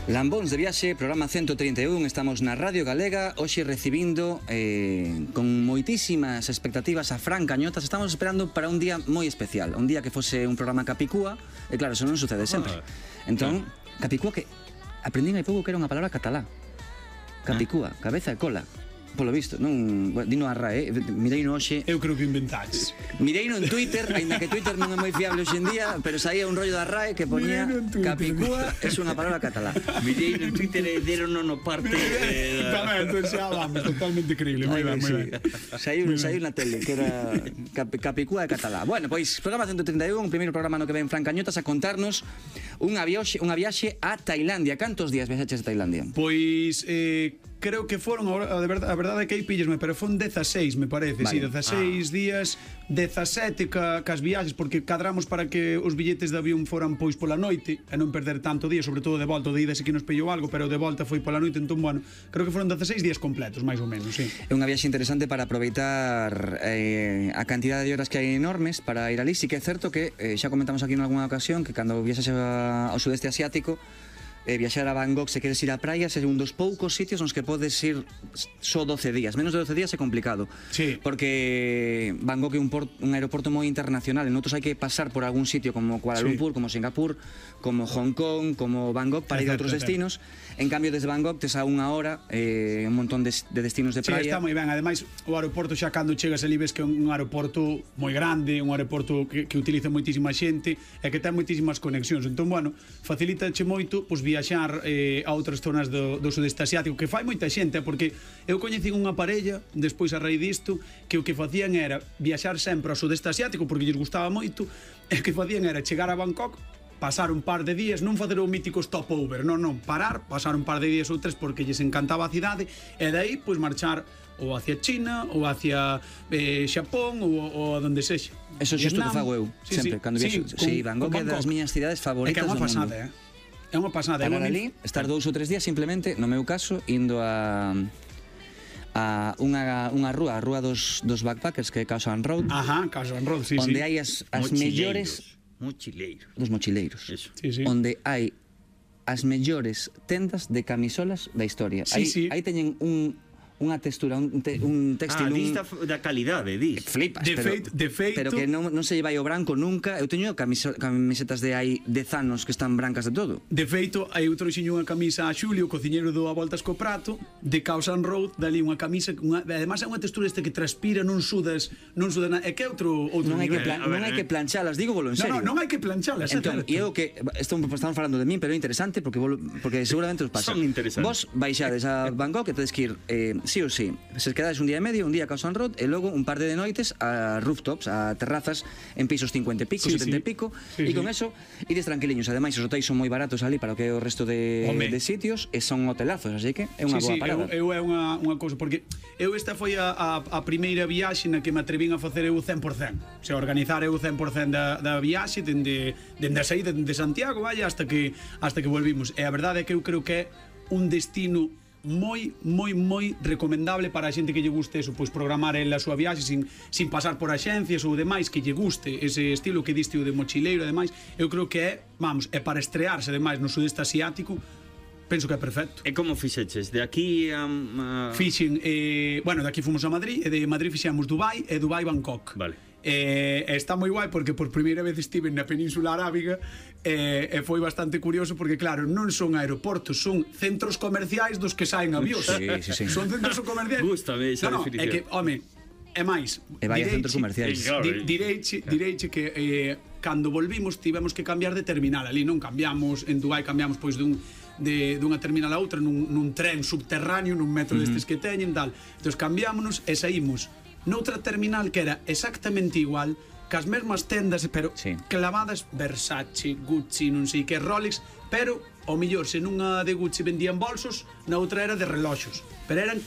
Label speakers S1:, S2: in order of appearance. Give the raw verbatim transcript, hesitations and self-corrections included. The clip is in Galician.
S1: Lambóns de viaxe, programa ciento trinta e un. Estamos na Radio Galega, hoxe recibindo eh, con moitísimas expectativas a Fran Cañotas. Estamos esperando para un día moi especial, un día que fose un programa Capicúa. E claro, eso non sucede sempre. ah, Entón, ah. Capicúa, que aprendín hai pouco que era unha palabra catalá. Capicúa, ah. cabeza e cola. Polo visto, non, bueno, dino a RAE, mirei no hoxe.
S2: Eu creo que inventaches.
S1: Mirei no en Twitter, aínda que Twitter non é moi fiable hoxe en día, pero saía un rollo da RAE que poñía Capicúa é unha palabra catalá.
S3: Mirei no Twitter e deron no parte eh,
S2: tamén, entón xa vamos, totalmente creíble, moi ben, moi ben.
S1: Saiu na tele que era Capicúa e catalá. Bueno, pois programa ciento trinta e un, o primeiro programa no que ven Fran Cañotas a contarnos unha viaxe, unha viaxe a Tailandia. Cantos días viaxaches a Tailandia?
S2: Pois eh creo que foron, a verdade, a verdade é que aí pillesme, pero fon dezaseis, me parece, vale. Si, dezaseis ah. días, dezasete ca, cas viaxes, porque cadramos para que os billetes de avión foran pois pola noite, e non perder tanto día, sobre todo de volta, de ida se que nos pillou algo, pero de volta foi pola noite, entón, bueno, creo que foron dezaseis días completos, máis ou menos, sí.
S1: É unha viaxe interesante para aproveitar eh, a cantidad de horas que hai enormes para ir ali. Sí que é certo que, eh, xa comentamos aquí en algunha ocasión, que cando viaxas ao sudeste asiático, Eh, viaxar a Bangkok, se queres ir á praia, é un dos poucos sitios nos que podes ir só doce días. Menos de doce días é complicado.
S2: Sí.
S1: Porque Bangkok é un, port, un aeroporto moi internacional, e noutros hai que pasar por algún sitio como Kuala Lumpur, sí. como Singapur, como Hong Kong, como Bangkok para ir a outros destinos. En cambio, desde Bangkok tes a unha hora eh, un montón de, de destinos de praia.
S2: Sí, está moi ben. Ademais, o aeroporto xa cando chegas ali ves que é un aeroporto moi grande, un aeroporto que, que utiliza moitísima xente e que ten moitísimas conexións. Entón, bueno, facilítache moito pois viaxar eh, a outras zonas do, do sudeste asiático, que fai moita xente, porque eu coñecín unha parella despois a raíz disto que o que facían era viaxar sempre ao sudeste asiático porque lles gustaba moito, e o que facían era chegar a Bangkok, pasar un par de días, non facer o mítico stopover, non, non, parar, pasar un par de días ou tres porque lles encantaba a cidade, e dai pois marchar ou hacia China, ou hacia eh, Xapón, ou, ou a donde sexa.
S1: Eso é xusto que fago eu, sí, sempre, sí, cando viaxo. Sí, sí, Bangkok é das miñas cidades favoritas do mundo. É que é unha pasada, eh?
S2: É unha pasada.
S1: Parar ali, estar dous ou tres días simplemente, no meu caso, indo a a unha, unha rúa, a rúa dos, dos backpackers, que é Khao Road.
S2: Ajá, Khao Road, sí,
S1: onde
S2: sí.
S1: hai as, as mellores...
S3: Mochileiros.
S1: Dos mochileiros.
S3: Eso.
S2: Sí, sí.
S1: Onde hai as mellores tendas de camisolas da historia.
S2: Sí,
S1: aí,
S2: sí.
S1: aí teñen un... unha textura, un, te, un textil,
S3: ah, dista da calidade, dis.
S1: Flipas,
S2: de
S1: pero,
S2: feito, de feito.
S1: pero que non, non se lle vai o branco nunca. Eu teño camiso, camisetas de hai dez anos que están brancas de todo.
S2: De feito, aí eu trouxeño unha camisa a Xulio, o cociñeiro do A Voltas co Prato, de Khao Road, dali unha camisa, unha, además é unha textura este que transpira, non sudas, non sudas nada, é que é outro, outro
S1: non hai
S2: nivel.
S1: Que plan, non hai que planchalas, digo bolo en serio.
S2: No, no, non hai que planchalas,
S1: entón, e eu que estamos falando de min, pero é interesante porque porque seguramente os pasa.
S3: Son interesantes.
S1: Vos baixades a Bangkok e tedes que ir eh, sí ou sí. Se quedades un día e medio, un día a Khao Road e logo un par de noites a rooftops, a terrazas en pisos cincuenta e pico, sí, setenta e sí. pico, sí, e con sí. eso ides tranquiliños. Ademais, os hotéis son moi baratos ali para o que é o resto de, de sitios, e son hotelazos, así que é unha
S2: sí,
S1: boa
S2: sí,
S1: parada.
S2: Eu, eu é unha, unha cousa, porque eu esta foi a, a, a primeira viaxe na que me atrevín a facer eu o cen por cen. O sea, organizar eu o cen por cen da, da viaxe dende, dende a saída de Santiago, vaya, hasta que, hasta que volvimos. E a verdade é que eu creo que é un destino moi, moi, moi recomendable para a xente que lle guste eso, pois programar el a súa viaxe sin, sin pasar por axencias ou demais, que lle guste ese estilo que diste o de mochileiro e demais. Eu creo que é, vamos, é para estrearse demais no sudeste asiático. Penso que é perfecto.
S3: E como fixeches? De aquí a... a...
S2: Fixen, eh, bueno, de aquí fomos a Madrid, e de Madrid fixemos Dubai e Dubai Bangkok.
S3: Vale.
S2: E eh, está moi guai porque por primeira vez estive na Península Arábiga e eh, eh, foi bastante curioso porque claro, non son aeroportos, son centros comerciais dos que saen avións.
S1: Sí, sí, sí.
S2: Son centros comerciais.
S3: Gústame esa
S2: no, no,
S3: definición.
S2: É que, home, é máis.
S1: E vai a centros comerciais.
S2: Di, direiche, direiche que eh, cando volvimos tivemos que cambiar de terminal ali, non cambiamos en Dubai, cambiamos pois dun de dunha terminal a outra nun, nun tren subterráneo, nun metro uh -huh. destes que teñen, tal. Entón cambiámonos e saímos noutra terminal que era exactamente igual, cas mesmas tendas, pero sí. clavadas Versace, Gucci, non sei que, Rolex, pero ao mellor se nunha de Gucci vendían bolsos, na outra era de reloxos, pero eran